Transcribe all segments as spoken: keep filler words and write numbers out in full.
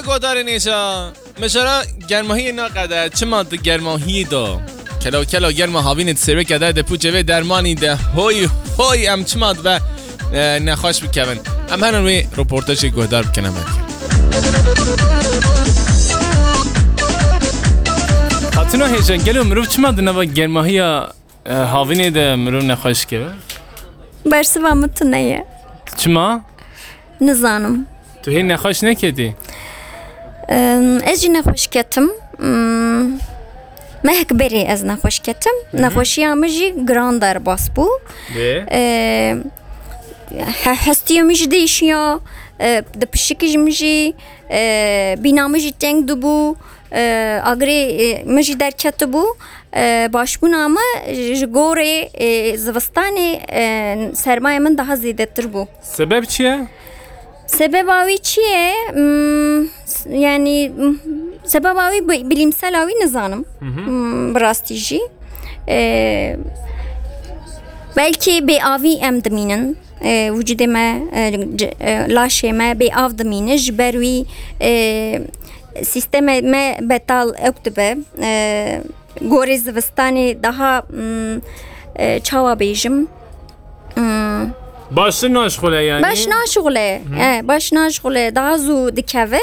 Godarên êşa, meşara germahiyê naqede, çima di germahiyê de? Kelo kelo germa havînê di serweke de, de pûçê vê dermanî de, hoy hoy, em çima dibe, e, nexweş bikevin? Em herin wê roportajê guhdar bikin, em herin. Xatuna hêja, gelo mirov çima di nava germahiya, e, havînê de mirov nexweş dikeve? Bersiva min tune ye. Çima? Nizanim. Tu hê nexweş neketî? Em, ez jî nexweş ketim. Em, mehek berê ez nexweş ketim. Hı hı. Nexweşiya min jî giran derbas bû. Bê? E, he-, hestiya min jî değişiya. E, di pişikî jî min jî, e, bîna min jî teng dibû. E, agirê, e, min jî derketibû. E, başbûna min ji gorê, e, zivistanê, e, sermayê min daha zêdetir bû. Sebeb çi ye? Sebeba wî çi ye? Hmm, s-, yani, hmm, sebeba wî bi-, bilimsela wî nizanim. Hı hı. Hmm, bi rastî jî. E, belkî bêavî em dimînin. E, wicudê me, e, c-, e, laşê me bêav dimîne. Ji ber wî, e, sîstemê me betal ewk dibe. E, gorê zivistanê daha, mm, e, çawa bêjim? Mm. Baştir naşixule yani? Baş naşixule. Hı. E, baş naşixule, daha zû dikeve.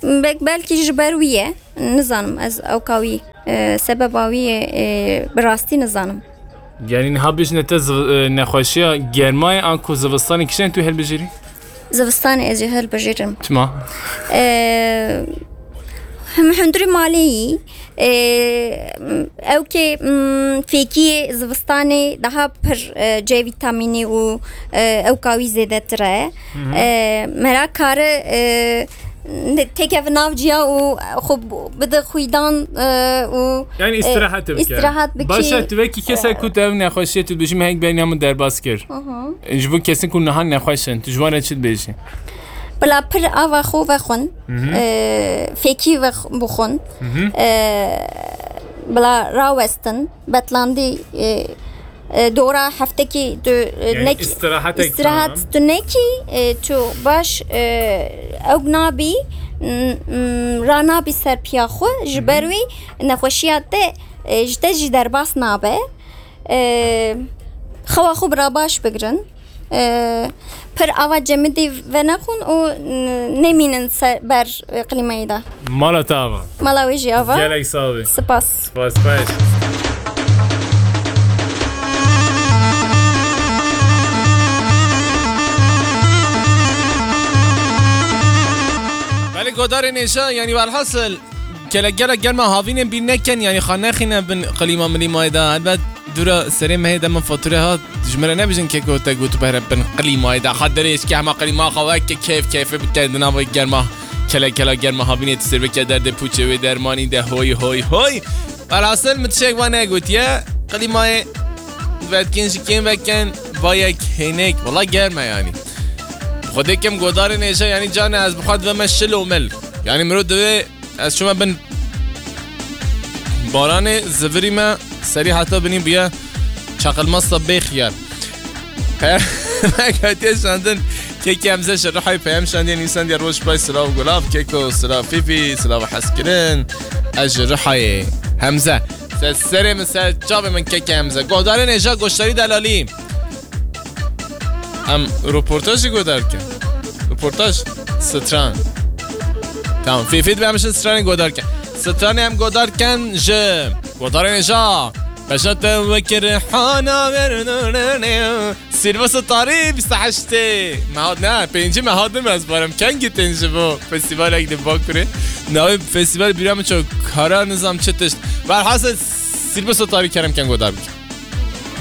Bel-, belkî ji ber wî ye. Nizanim ez ewka wî, e, sebeba wî ye, e, bi rastî nizanim. Yani niha bêjine te ziv-, e, nexweşiya germayê anku zivistanê kişên tu helbijêrî? Zivistanê ez ê hilbijêrim. Çima? Ee, him hundirî malê yî. Ee, ew kê, mm, fêkiyê zivistanê daha pir, e, C vîtamînî û, e, ewka wî zêdetir e. Hı hı. E, mera kare, e, ne-, têkeve nav ciya û xwe bide xwîdan, e, û, Yani e, îstirahet bike. Îstirahet bike. Baş e, tu wekî kesek ku te ev nexweşiyê tu dibêjî, me hek beriya min derbas kir. Hı hı. Ji bo kesên ku niha nexweş in, tu ji wan re çi dibêjî? Bila pir ava xwe vexwin, Hı hı. e, fêkî vex-, bixwin, Hı hı. e, bila rawestin, betlandî, e, e, dora heftekî tu, e, Yani nekî, îstirahetek îstirahat tam. Tu nekî, e, tu baş, e, ewk nabî, m-, m-, ranabî ser piya xwe, ji Hı hı. ber wî nexweşiya te, e, ji te jî derbas nabe. E, xewa xwe bira baş bigirin. E, pir ava cemidî venexwin û, n-, nemînin ser ber, e, klîmayê de. Mala te ava. Mala wê jî ava. Gelek sax bî. Spas. Spas, spas. Belê godarên êşa, yani velhasil, Kele-, gelek germa havînên bîr nekin, yanî xwe nexîne bin qilîma milîmayê de. Helbet dûra serê mehê de min fature hat, ji min re nebijin keko te got bere bin qilîmayê de. Xwe derê êşke hema qilîma xwe weke keyf keyfê bike di nava germa, kele-kela germa havînê tu sêr bike derdê pûçê wê dermanî de hoy hoy hoy. Velhasil min tiştek wa negotiye. Qilîmayê vetkên ji kêm vekin, va yek hênek. Wela germ e yanî. Xwedê kim godarên êşa, yanî can e, ez bi xwe diveme şil û mil. Yanî mirov divê Ez çûme bin baranê, zivirî me, serî heta binî bûye çaqilmasta bê xiyar. Peyam hatiye şandin, kekê Hemze ji Rihayê peyam şandiye, nivîsandiye: "Roj baş, silav gulav, keko, silav fîfî, silav hezkirin." Ez ji Rihayê. Hemze. Ser serê min, ser çavê min kekê Hemze. Godarên êşa, goşdarî delalî. Em roportaj jî godar kin. Roportaj, stran. Tamam, fêfê dibe em ji stranê godar kin. Stranê em godar kin ji godarên êşa. Beşa te wekî Rihana ver. Sîrva Sitarî bîst û heştê. Me hat, ne, pêncî me hat, ez barim. Kengî tên ji bo festîvalek di Bakurê. Navê festîval bîra min çok kara nizam çi tişt. Velhasil Sîrva Sitarî kerem ken godar bikin.